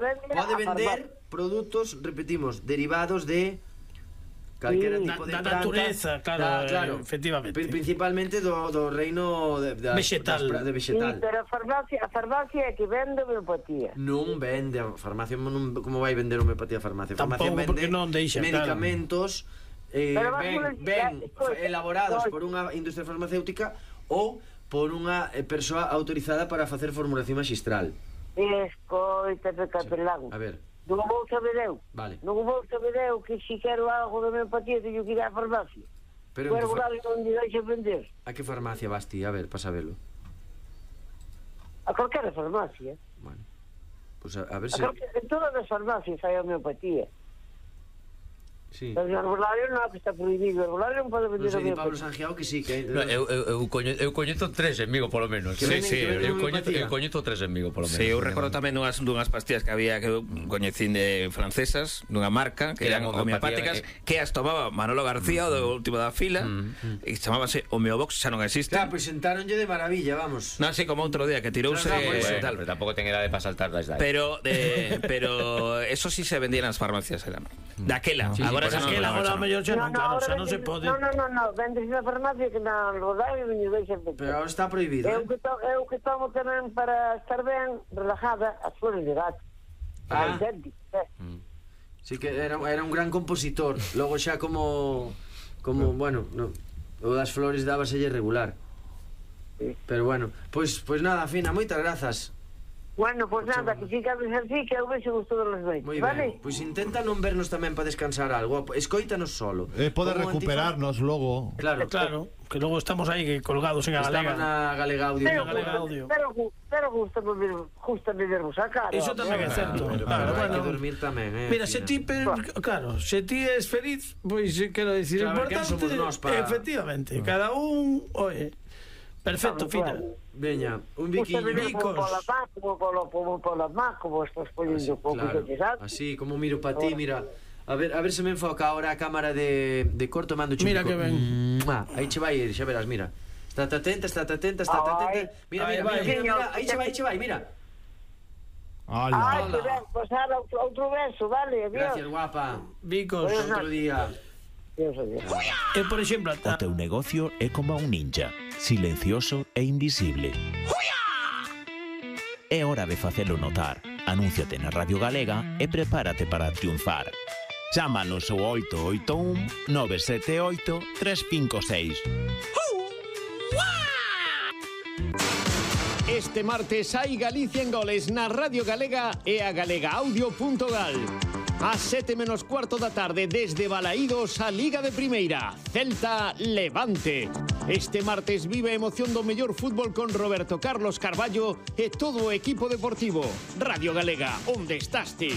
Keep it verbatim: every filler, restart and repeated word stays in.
pode vender produtos, repetimos, derivados de calquera tipo de da planta, natureza, claro, da, claro, efectivamente. Principalmente do, do reino de, de, vegetal. Das, de vegetal. Sí, pero a farmacia, a farmacia é que vende homeopatía. Non vende, a farmacia non, como vai vender homeopatía a farmacia? A farmacia Tampouco, porque vende non deixa, medicamentos eh, Pero vas ben, a ben necesitar- elaborados Pois- por unha industria farmacéutica ou por unha eh, persoa autorizada para facer formulación magistral. Escoita, capelán. A ver, Non vou saber eu. Vale. Non vou saber eu que se quero algo de homeopatía teño que ir á farmacia. pero O en que fa- herbolario non lle deixa vender. a que farmacia vas ti? A ver, para sabelo. A calquera farmacia. Bueno, pues a, a ver A se... calquera, en todas as farmacias hai homeopatía. Sí. Pero o herbolario non, que está prohibido. O herbolario non pode Non vender sei, di Pablo homeopatía. Sangiao que sí, que... No, eu, eu, eu, coño, eu coñezo tres en Vigo, polo menos. Que venden- que venden eu, coñezo, homeopatía. eu coñezo tres en Vigo, polo menos. Sí, eu recordo tamén unhas, dunhas pastillas que había que eu coñecín de francesas, dunha marca, que eran Eran homeopatía, homeopáticas, eh. que as tomaba Manolo García, o do último da fila, e chamábase Homeobox, xa non existe. Claro, pues sentáronlle de maravilla, vamos. Non, así como outro día, que tirouse... Claro, Bueno, por eso, tal. pero tampouco ten edade para saltar das edades. Pero, de, pero eso sí se vendía nas farmacias, era. Daquela, Sí, agora por xa non. Aquela agora xa non. mellor xa non, claro, xa non se vende- pode. No, no, no, no, vendes na farmacia que na herbolario non lle deixa vender. Pero ahora está prohibido, Eu eh? que, to, eu que tomo tamén para estar ben, relajada, as flores de gato. Ah. Idéntico, eh. Sí que era, era un gran compositor. Logo xa como... Como, bueno, no, o das flores dábaselle regular. Sí. Pero bueno, pois pues, pues nada, Fina, moitas grazas. Bueno, pues nada, que si cabes así, que eu vexo gusto dos noites, Moi vale? ben. Pois pues intenta non vernos tamén para descansar algo. Escoítanos solo. Eh, pode Como recuperarnos logo. Claro, Claro, que logo estamos aí colgados en a Estaba galega. na Galega Audio. Pero, Galega Audio. pero, pero gusta ver, gusta vervos a cara. Iso tamén é certo. Pero, Claro, pero hai bueno. que dormir tamén, eh. Mira, Fina. se ti, pero, claro, se ti es feliz, pois pues, quero dicir, Claro, quen importante, somos nós pa- efectivamente, cada un, oye, perfecto, Fina. Veña, un Gusta biquiño. ver bicos. como pola má, como pola, como pola má, como estás poniendo pouco Claro, de sabes? así como miro para ti, mira. A ver, a ver se me enfoca ahora a cámara de, de corto mando chico. Mira que ben. Mua, aí che vai ir, xa verás, mira. Estate atenta, estate atenta, estate Ai. atenta. Mira, Ai, mira, vai. mira, mira, mira, aí che vai, aí che vai, mira. Ai, Ala. que ben, pues ahora outro, outro beso, vale, adiós. Gracias, guapa. Bicos. Outro día. Adiós, adiós. E, por exemplo, O teu negocio é como un ninja, silencioso e invisible. É hora de facelo notar. Anúnciate na Radio Galega e prepárate para triunfar. Chámanos ao oito oito un nove sete oito tres cinco seis. Este martes hai Galicia en goles na Radio Galega e a galegaaudio.gal. A sete menos cuarto da tarde desde Balaídos a Liga de Primeira. Celta Levante. Este martes vive a emoción do mellor fútbol con Roberto Carlos Carballo e todo o equipo deportivo. Radio Galega, onde estás ti?